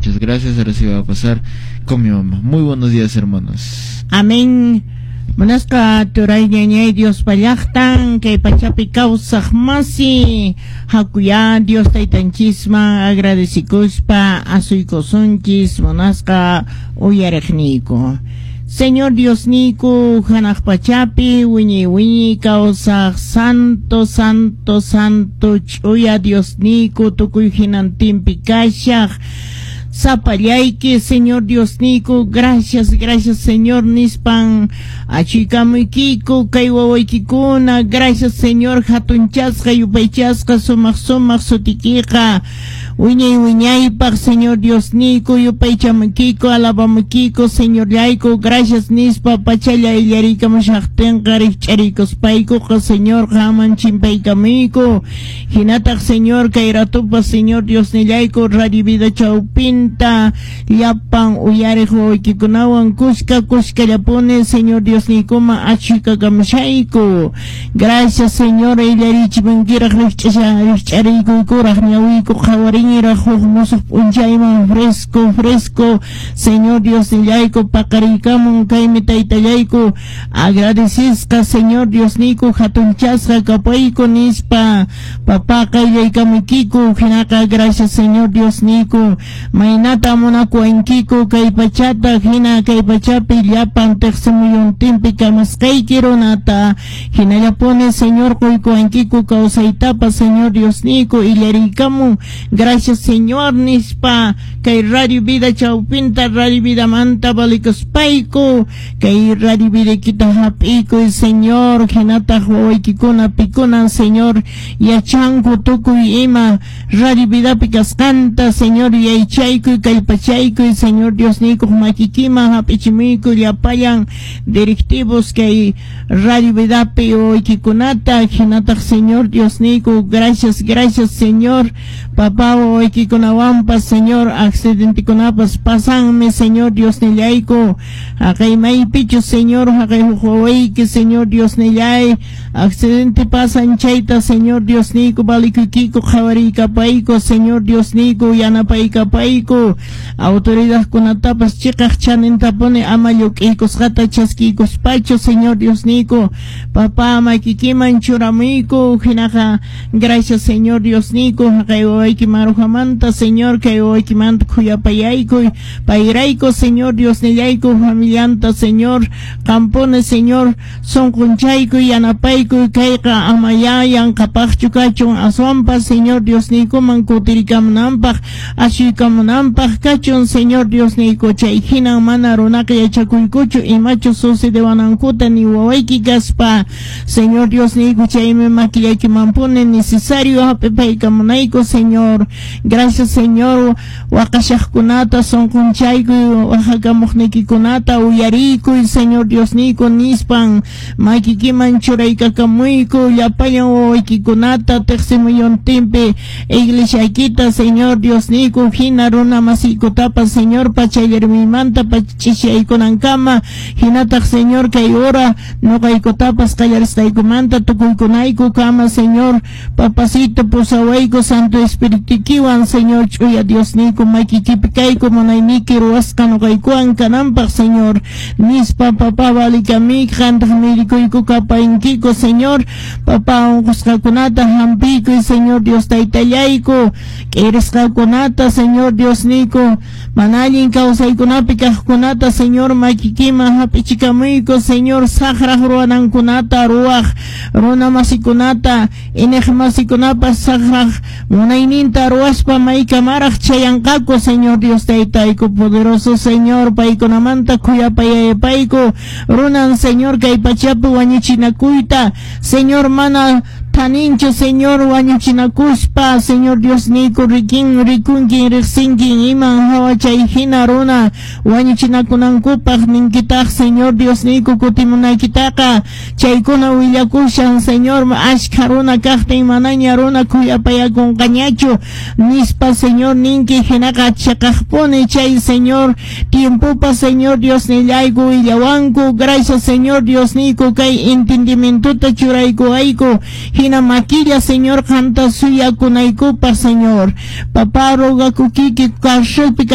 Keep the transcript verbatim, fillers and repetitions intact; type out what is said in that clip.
Muchas gracias. Ahora sí va a pasar con mi mamá. Muy buenos días, hermanos. Amén. Munasqa turay ñañay Dios pallaqtan kay pachapi kawsaq masi hakuya Dios taytanchisman agradecikuspa asuykusunchis munasqa uyariqniyku. Señor Diosniyku hanaq pachapi wiñay wiñay kawsaq santo santo santo ch'uya Diosniyku tukuy hinantinpi kashaq sapallayki Señor Diosniyku gracias gracias Señor nispan achuykamuykiku kay wawaykikuna gracias Señor hatunchasqa yupaychasqa sumaq sumaq sutikiqa wiñay wiñaypaq Señor Diosniyku yupaychamuykiku alabamuykiku Señorllayku gracias nispa pachalla illariykamushaqtinqa rikch'ariykuspaykuqa Señor qaman chimpaykamuyku hinataq Señor kay ratupas Señor Diosnillayku Radio Vida chawpinta llapan uyariq wawaykikunawan kuska kuskallapuni Señor Diosniykuman achuykakamushayku gracias Señor illarichimunkiraq rikch'asha rikch'ariykukuraq ñawiyku qhawariniraq huk musuq p'unchayman fresco fresco Señor Diosnillayku paqariykamun kaymi taytallayku agradecisqa Señor Diosniyku hatunchasqa kapayku nispa papá qayllaykamuykiku hinaqa gracias Señor Diosniyku maynata munakuwankiku kay pachata hina kay pachapi llapan tiqsimuyuntinpi kamasqayki runata hinallapuni Señor quykuwankiku kawsaytapas Señor Diosniyku illariykamun gracias Señor nispa kay Radio Vida chawpinta Radio Vidamanta valikuspayku kay Radio Vidaykita hap'iykuy Señor hinataq wawaykikuna pikunan Señor yachanku tukuy ima Radio Vidapi kasqanta Señor yaychaykuy kallpachaykuy Señor Diosniykuq makikiman hap'ichimuyku llapallan directivos kay Radio Vidapi wawaykikunata hinataq Señor Diosniyku gracias gracias Señor papá wawaykikunawanpas Señor accidentekunapas pasanmi Señor Diosnillayku haqay maypichu Señor haqay huk wawayki Señor Diosnillay accidente pasan chayta Señor Diosniyku valikuykiku qhawariykapayku Señor Diosniyku yanapaykapayku autoridadkunatapas chiqaq chanintapuni ama lluk'iykusqata chaskiykuspachu Señor Diosniyku papá makikiman churamuyku hinaqa gracias Señor Diosniyku haqay wawayki marujamanta Señor kay wawaykimanta khuyapayaykuy payrayku Señor Diosnillayku familianta Señor qampuni Señor sunqunchaykuy yanapaykuy kayqa ama ya yanqapaqchu kachun aswanpas Señor Diosniykuman kutirikamunanpaq asuykamunanpaq kachun Señor Diosniyku chay hinan mana runaqa yachakuykuchu imachu sucedewanankuta ni wawayki kaspa Señor Diosniyku chaymi makillaykimanpuni necesario hap'ipaykamunayku Señor gracias Señor waqashaqkunata sunqunchaykuy waqakamuqniykikunata uyariykuy Señor Diosniyku nispan makikiman churaykakamuyku llapallan wawaykikunata tiqsimuyuntinpi iglesiaykita Señor Diosniyku hina runa masiykutapas Señor pachallarmiymanta pach'ishaykunankama hinataq Señor kay hora nuqaykutapas qallarisqaykumanta tukuykunayku kama Señor papacito pusawayku Santo Espiritukiwan Señor ch'uya Diosniyku makikipi kayku munayniyki ruwasqa nuqaykuwan kananpaq Señor nispa papá valikamik qantaq mirikuyku kapaynkiku Señor papá unqusqakunata hampiykuy Señor Dios taytallayku k'irisqakunata Señor Diosniyku mana allin kawsaykunapi kaqkunata Señor makikiman hap'ichikamuyku Señor saqraq ruwanankunata ruwaq runa masikunata iniq masikunapas saqraq munayninta ruwaspa maykamaraq chayanqaku Señor Dios taytayku poderoso Señor paykunamanta khuyapayaypayku runan Señor kay pachapi wañuchinakuyta Señor mana thaninchu Señor wañuchinakuspa Señor Diosniyku rikin rikunkin riqsinkin iman hawa chay hina runa wañuchinakunankupaq ninkitaq Señor Diosniyku kutimunaykitaqa chaykuna willakushan Señor ashkha runa kaqtin manaña runa khuyapayakunqañachu nispa Señor ninki hinaqa chiqaqpuni chay Señor tiempopa Señor Diosnillayku willawanku gracias Señor Diosniyku kay entendimientota churaykuwayku hina makilla Señor qanta suyakunaykupaq Señor papá rogakukiki carcelpi